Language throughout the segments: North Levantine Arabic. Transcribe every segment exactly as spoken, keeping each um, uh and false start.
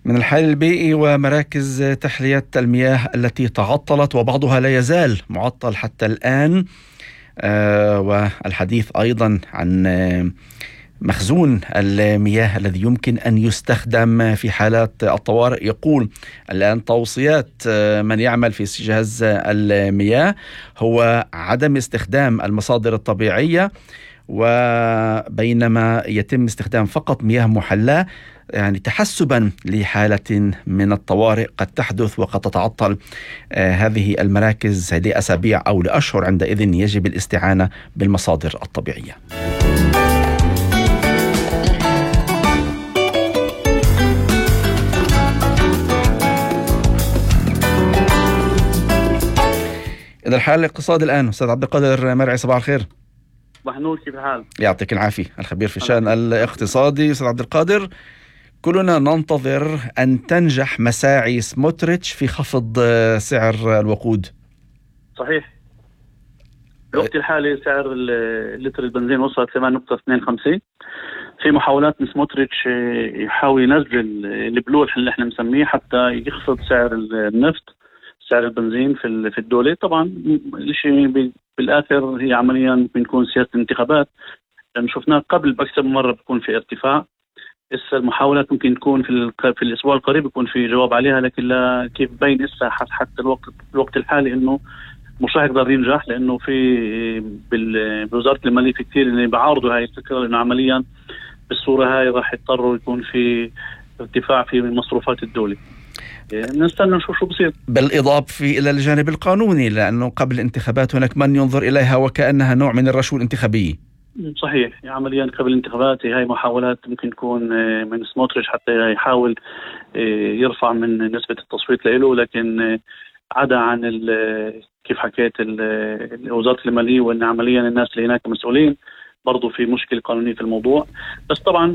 من الحال البيئي ومراكز تحلية المياه التي تعطلت وبعضها لا يزال معطل حتى الآن، آه والحديث أيضا عن آه مخزون المياه الذي يمكن أن يستخدم في حالات الطوارئ. يقول الآن توصيات من يعمل في جهاز المياه هو عدم استخدام المصادر الطبيعية، وبينما يتم استخدام فقط مياه محلاة، يعني تحسبا لحالة من الطوارئ قد تحدث وقد تتعطل آه هذه المراكز لأسابيع أو لأشهر. عندئذ يجب الاستعانة بالمصادر الطبيعية. إذا الحال الاقتصادي الآن أستاذ عبد القادر مرعي، صباح الخير. صباح النور، كيف الحال؟ يعطيك العافية. الخبير في الشأن الاقتصادي أستاذ عبد القادر، كلنا ننتظر أن تنجح مساعي سموتريتش في خفض سعر الوقود. صحيح. الوقت الحالي سعر لتر البنزين وصل ثمانية فاصلة اثنين خمسة. في محاولات من سموتريتش يحاول ينزل البلول اللي احنا مسميه حتى يخفض سعر النفط، سعر البنزين في في الدولة. طبعا الشيء بالآخر هي عمليا بنكون سياسة انتخابات، لأن شفناه قبل بأكثر من مرة بيكون في ارتفاع. إسا المحاولات ممكن تكون في في الأسبوع القريب يكون في جواب عليها، لكن لا كيف بين إسا حتى الوقت الوقت الحالي إنه مش راح يقدر ينجح، لأنه في بوزارة المالية في كثير اللي بيعارضوا هاي الفكرة، لأنه عمليا بالصورة هاي راح يضطروا يكون في ارتفاع في مصروفات الدولة. نستنى نشوف شو بصير. بالإضافة إلى الجانب القانوني، لأنه قبل الانتخابات هناك من ينظر إليها وكأنها نوع من الرشوة الانتخابية. صحيح، عمليا قبل الانتخابات هاي محاولات ممكن تكون من سموتريتش حتى يحاول يرفع من نسبة التصويت له، لكن عدا عن كيف حكيت وزارة المالية، وأن عمليا الناس اللي هناك مسؤولين برضو في مشكلة قانونية في الموضوع. بس طبعا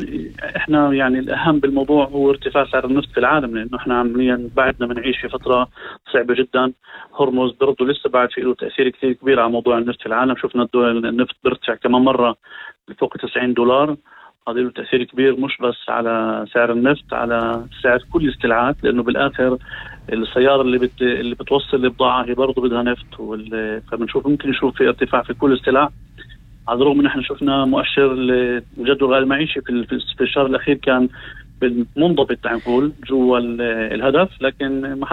احنا يعني الأهم بالموضوع هو ارتفاع سعر النفط في العالم، لأنه احنا عمليا بعدنا بنعيش في فترة صعبة جدا. هرمز برضو لسه بعد في له تأثير كثير كبير على موضوع النفط في العالم. شفنا النفط بيرتفع كمان مرة بفوق تسعين دولار، هذا له تأثير كبير مش بس على سعر النفط، على سعر كل السلعات، لأنه بالآخر السيارة اللي بت... اللي بتوصل البضاعة هي برضو بدها نفط، وال... فبنشوف ممكن نشوف في ارتفاع في كل السلع. على الرغم ان احنا شفنا مؤشر الجدول الغير المعيشي في في الشهر الاخير كان بالمنضبط، تعال نقول جوا الهدف، لكن ما